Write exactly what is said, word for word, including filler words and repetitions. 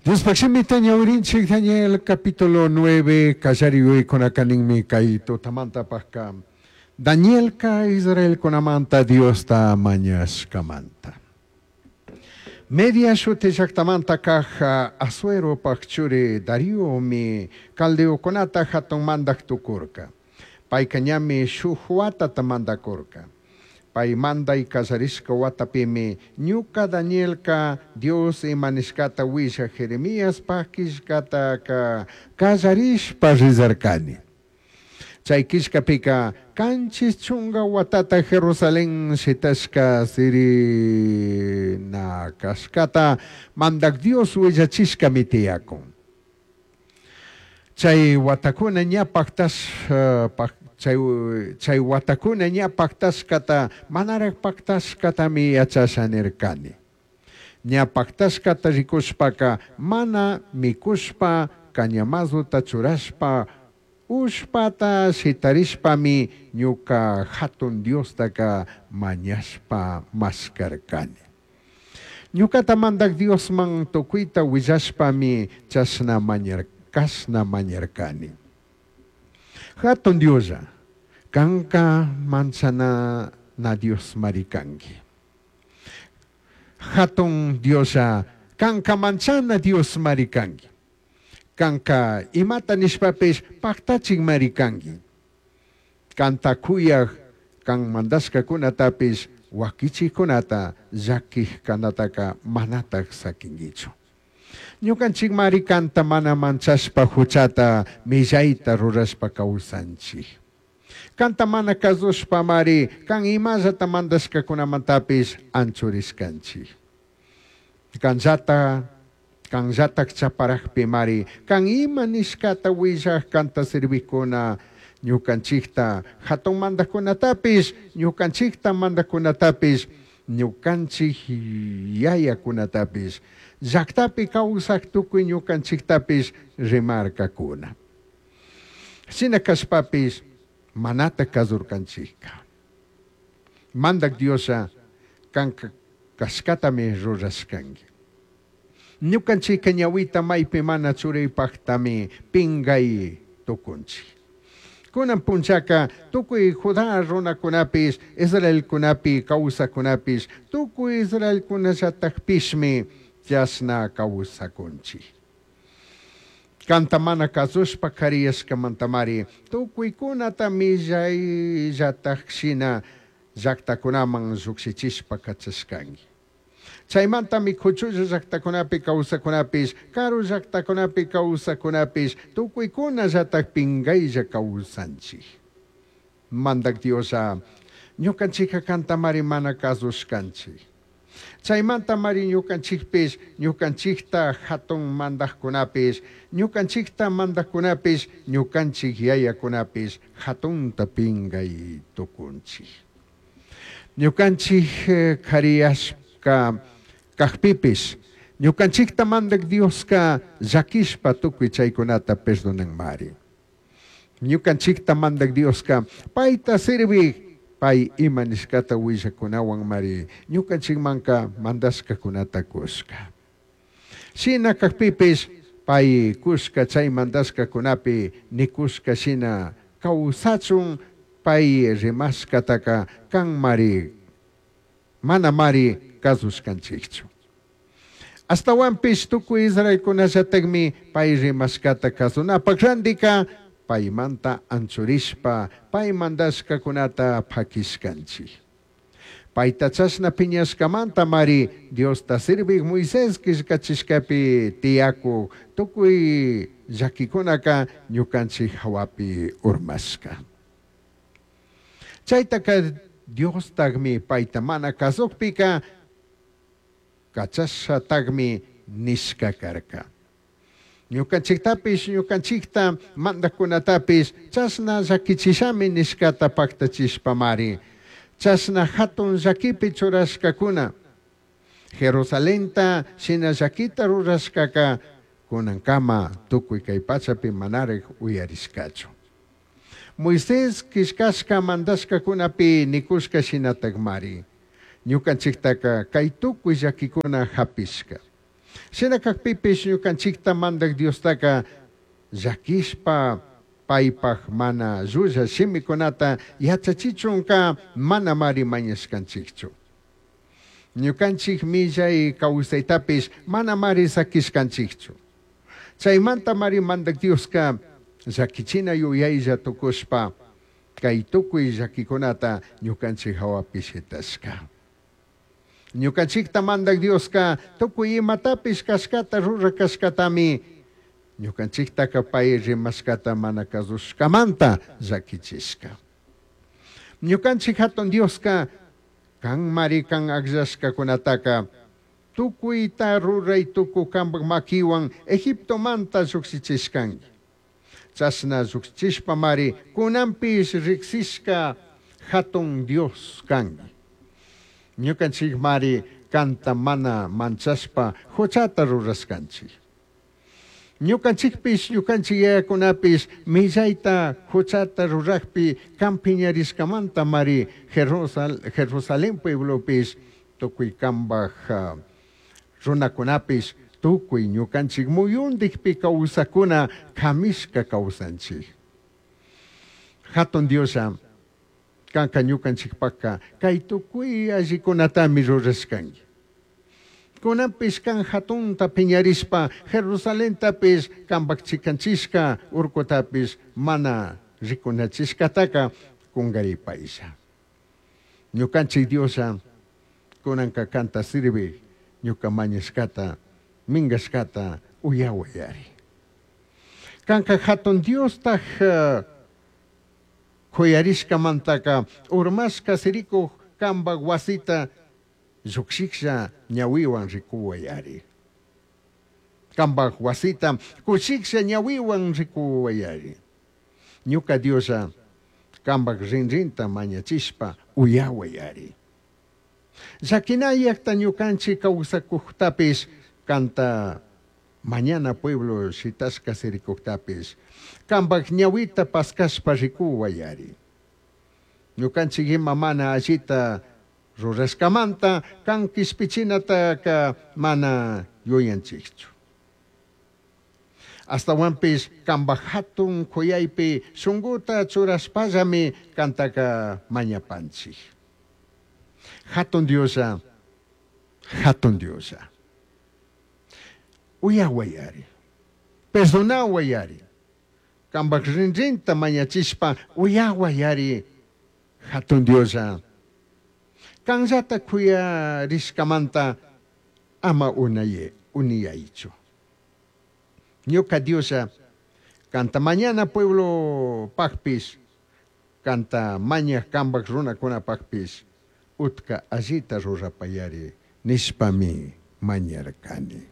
Diospaj shimita ñawirinchik Daniel capítulo nueve kallari yuyaykunaka ninmi kay tutamantapajka Danielka Israelkunamanta Diosta mañashkamanta. Media shuti llaktamanta kaj Asueropaj churi Dariomi caldeokunata jatun mandaj tucurca. Payka ñami shuj watata mandakurka. Pay manday kallarishka watapimi ñuka Danielka Dios ima nishkata willaj Jeremiaspaj killkataka kallarishpa rillarkani. Chay killkapika kanchis chunga watata Jerusalén shitashka sirina kashkata mandak Dios willachishkami tiyakun. Chay watakuna ña paktash, chay, chay watakuna ña paktashkata manaraj paktashkatami yachasha nirkani. Ña paktashkata rikushpaka mana mikushpa cañamazuta churashpa ushpata shitarishpami ñuka jatun Diostaka mañashpa maskarkani. Ñukata mandak Diosman tukuyta willashpami chashna mañar, kashna mañarkani. Jatun Dioslla, kanka manchana na Dios mari kanki. Jatun Dioslla, kanka manchana Dios mari kanki. Kanka imata nishpapish paktachik mari kanki. Kanta kuyaj kan mandashkakunatapish wakichikkunata llakij kanataka manataj sakinkichu. Ñukanchik mari kanta mana manchashpa huchata millayta rurashpa kawsanchik. Kanta mana kazushpa mari kan imallata mandashkakunamantapish anchurishkanchik. Kanllata kanllatak chaparajpi mari kan ima nishkata willaj kanta sirvikuna ñukanchikta hatun mandajkunatapish ñukanchikta mandajkunatapish ñukanchik yayakunatapish llaktapi kawsaj tukuy ñukanchiktapish rimarkakuna. Shina kashpapish manata kazurkanchikka. Mandak Dioslla kanka kashkatami rurashkanki. Ñukanchikka ñawita maypi mana churaypajtami pingay tukunchik. Kunan punchaka tukuy Judá runakunapish Israelkunapi kawsakunapish tukuy Israelkunallatakpishmi chashna kawsakunchik. Kanta mana kazushpa kariyashkamantamari tukuykunata millayllatak shina llaktakunaman llukshichishpa kachashkanki. Chaymantami kuchulla llaktakunapi kawsakunapish karu llaktakunapi kawsakunapish tukuykunallatak pingaylla kawsanchik. Mandak Dioslla ñukanchikka kantamari mana kasushkanchik. Chaymantamari ñukanchikpish ñukanchikta hatun mandajkunapish ñukanchikta mandajkunapish ñukanchik yayakunapish hatunta pingay tukunchik. Ñukanchik kariyashka kajpipish ñukanchikta mandak Dioska llakishpa tukuy chaykunata perdonanmari. Ñukanchikta mandak Dioska payta sirvik pay ima nishkata willakunawan mari ñukanchikmanka mandashkakunata kushka. Shina kajpipish pay kushka chay mandashkakunapi nikushka shina kawsachun pay rimashkataka kanmari mana mari kasushkanchikchu. Astawanpish tukuy Israelkunallatakmi pay rimashkata kasunapak randika paymanta anchurishpa pay mandashkakunata pakishkanchik. Payta chashna piñashkamanta mari Diosta sirvik Moisés killkachishkapi tiyakuk tukuy llakikunaka ñukanchik hawapi urmashka. Chaytaka Diostakmi payta mana kasukpika kachashatakmi nishka karka. Ñukanchiktapish ñukanchikta mandajkunatapish chashna llakichishami nishkata paktachishpamari. Chashna hatun llakipi churashkakuna. Jerusalenta shina llakita rurashkaka kunankama tukuy kay pachapi manaraj uyarishkachu. Moisés killkashka mandashkakunapi nikushka shinatakmari. Ñukanchiktaka kay tukuy llakikuna hapishka. Shina cajpipish ñucanchijta Mandaj Diostaca llaquishpa paipaj mana llulla shimicunata yachachichunca manamari mañashcanchijchu. Ñucanchij millai causaitapish manamari saquishcanchijchu. Chaimantamari Mandaj Diosca llaquichina yuyailla tucushpa cai tucui llaquicunata ñucanchij jahuapi shitashca. Ñucanchijta Mandaj Diosca tucui imatapish cashcata ruraj cashcatami ñucanchijtaca pai rimashcata mana cazushcamanta llaquichishca. Ñucanchij Jatun Diosca canmari can agllashcacunataca tucuita rurai tucuj cambaj maquihuan Egiptomanta llujshichishcangui. Chashna llujshishpamari cunanpish rijsishca Jatun Dios cangui. Ñucanchijmari canta mana manchashpa juchata rurashcanchij. Ñucanchijpish ñucanchij yayacunapish millaita juchata rurajpi can piñarishcamantamari Jerusal Jerusalén pueblopish tucui cambaj uh, runacunapish tucui ñucanchij muyundijpi causacuna camishca causanchij. Jatun Dioslla canca ñucanchijpajca cai tucui allicunatami rurashcangui. Cunanpish can jatunta piñarishpa Jerusalentapish cambaj chicanchishca urcutapish mana ricunachishcataca cungaripailla. Ñucanchij Dioslla cunanca canta sirvij ñuca mañashcata mingashcata uyahuayari. Canca jatun Diostaj uh, juyarishcamantaca urmashca siricuj cambaj huasita llujshijlla ñahuihuan ricuhuayari. Cambaj huasita cushijlla ñahuihuan ricuhuayari. Ñuca Dioslla cambaj rinrinta mañachishpa uyahuayari. Llaquinayajta ñucanchij causacujtapish canta mañana pueblo shitashca siricujtapish cambaj ñahuita pascashpa ricuhuayari. Ñucanchij ima mana allita rurashcamanta can quishpichinataca mana yuyanchijchu. Ashtahuanpish cambaj jatun juyaipi shunguta churashpallami cantaca mañapanchij. Jatun Dioslla, jatun Dioslla. Uyahuayari, perdonahuayari. Cambaj rinrinta mañachishpa uyahuayari, jatun Dioslla. Canllata juyarishcamanta ama unaye, uniyaichu. Ñuca Dioslla, canta mañana pueblo pajpish, canta mañaj cambaj runacunapajpish, utca allita rurapayari nishpami mañarcani.